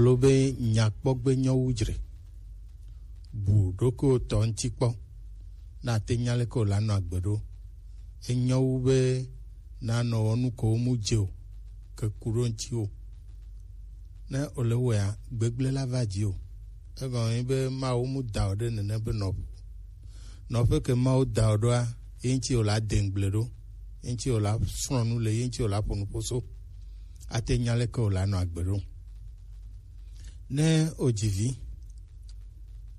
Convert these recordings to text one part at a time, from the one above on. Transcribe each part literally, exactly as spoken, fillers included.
Lo be nyakpɔgbe nyɔ wu dzre. Bu ɖokuiwò tɔ ŋuti kpɔ. Na ate nya leke wòla nɔ agbe ɖo. Enyɔ wu be nanɔ wɔ nu ko mu dze o, ke ku ɖo ŋuti o. Ne wòle wɔea, gbegblẽ la va dzi o. Egɔme be Mawu mu da wò ɖe nene be nɔƒe. Nɔƒe ke Mawu da wò ɖoa, ye ŋuti wòla de ŋugble ɖo, ye ŋuti wòla srɔ̃ nu le, ye ŋuti wòla ƒo nuƒo so. Ate nya leke wòla nɔ agbe ɖo. Ne wòdzi vi,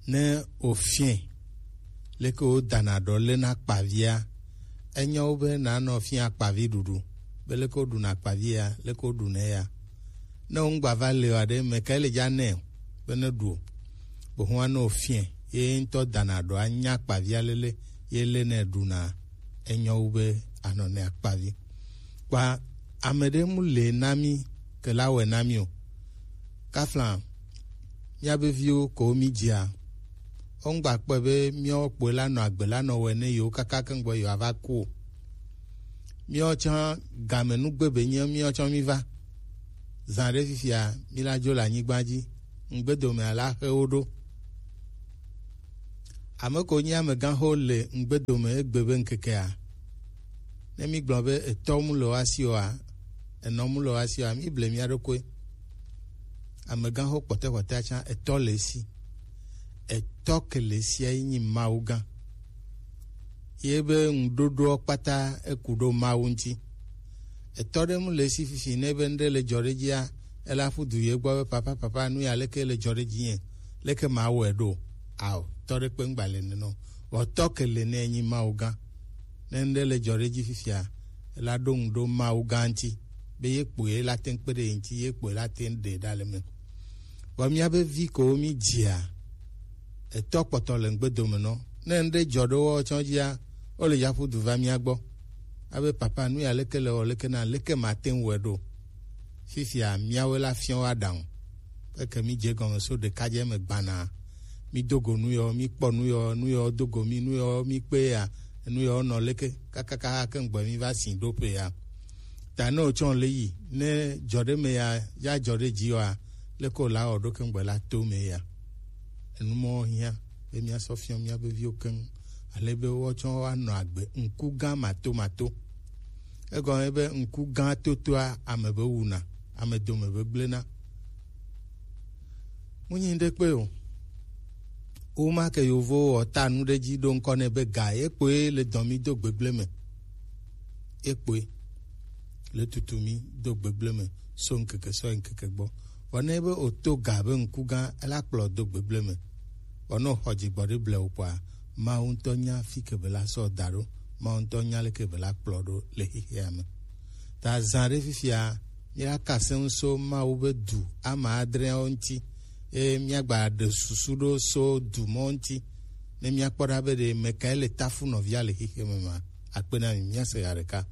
ne wòfiɛ leke wodana ɖɔ lena akpavia, enyɔ wu be nanɔ fia akpavi ɖuɖu, be leke woɖuna akpavia, leke woɖunɛ ya. Ne wò ŋgba va le o aɖe, mɛ kae le dza nɛ o, be ne ɖu o. Bohua ne wòfiɛ, ye ŋutɔ dana ɖɔ anya akpavia lele, ye le ne ɖuna, enyɔ wu be anɔ ne akpavi. Kpa ame ɖe mu le na mi ke la wɔe na mi o. Kafla, míabe viwo ko mi dzia, wongba kpɔe be míawo kpoe la nɔ agbe la nɔ wɔe ne yewo kaka keŋgbɔ yewo ava ku o. Míawo tsã game nugbe be nye míawo tsã mi va. Zã ɖe fifia, mi la dzo le anyigba dzi. Ŋgbedomea la xe wo ɖo. Ame ko nyi amegãxo le ŋgbedome egbe be ŋkekea? Ne mi gblɔ be etɔ mu le woasi oa, enɔ mu le woasi oa, mi ble mia ɖokui. Amegãxo kpɔtɔkpɔtɔa tsã etɔ le esi. Etɔ ke le esia ye nyi Mawu gã. Ye be ŋuɖoɖoa kpata eku ɖo Mawu ŋuti. Etɔ ɖe mu le esi fifi ne be ŋɖe le dzɔ ɖe dzia, ela ƒu du ye gbɔ be, "Papa, papa, nu ya leke le dzɔ ɖe dzinye? Leke mawɔe ɖo?" Ao, tɔ ɖe kpe ŋgba le nenɔ. Vɔ tɔ ke le ne enyi Mawu gã. Ne ŋɖe le dzɔ ɖe dzi fifia, ela ɖo ŋu ɖo Mawu gã ŋuti, be ye kpoe la te ŋu kpe ɖe ye ŋuti, ye kpoe la te ŋu ɖe ɖa le me. Vɔ míabe vi kewo mi dzia, etɔ kpɔtɔ le ŋgbedome nɔ. Ne ŋɖe dzɔ ɖe wo tsɔ dzia, wo le yaƒu du va mía gbɔ. Abe, "Papa, nu ya leke le wɔ leke na, leke mate ŋu wɔe ɖo?" Fifia, míawoe la fiɔ wo aɖaŋu. Eke mi dze gɔme so ɖekadze me gbana. Mi do go nu yɔ, mi kpɔ nu yɔ, nu yɔ do go mi, nu yɔ mi kpe ya, nu yɔ nɔ leke, kakaka ke ŋgbe mi va si ɖo ƒe ya. Ta ne wotsɔ le yi, ne dzɔ ɖe me ya, ya dzɔ ɖe dzi yɔa, leke wòla wɔ ɖo ke ŋgbe la to me ya. Enu mɔ hiã be míasɔ fiɔ míabe viwo keŋ, ale be woatsɔ woanɔ agbe ŋku gã matomato. Egɔme be ŋku gã totoa ame be wuna, ame dome be gblẽna. Munyi ɖe kpe o. Woma ke yovowo wɔ ta nu ɖe dzi ɖo ŋkɔ nɛ be ga ye kpoe le dɔ mi do gbegblẽ me. Ye kpoe le tutu mi do gbegblẽ me so ŋkeke sɔ yi ŋkeke gbɔ. Vɔ ne be o to ga be ŋku gã, ela kplɔ do gbegblẽ me. Vɔ ne o xɔ dzigbɔ ɖe ble o kpɔa, Mawu ŋutɔ nya fi ke be la sɔ da ɖo. Mawu ŋutɔ nya leke be la kplɔ ɖo le xexea me. Ta zã ɖe fifia, míaka se ŋu so Mawu be du ame adreawo ŋuti, eye míagba ɖe susu ɖo so du mɔ ŋuti, ne míakpɔ ɖa be ɖe mekae le tafu nɔvia le xexea me ma. Akpe na mi, míase ya ɖeka.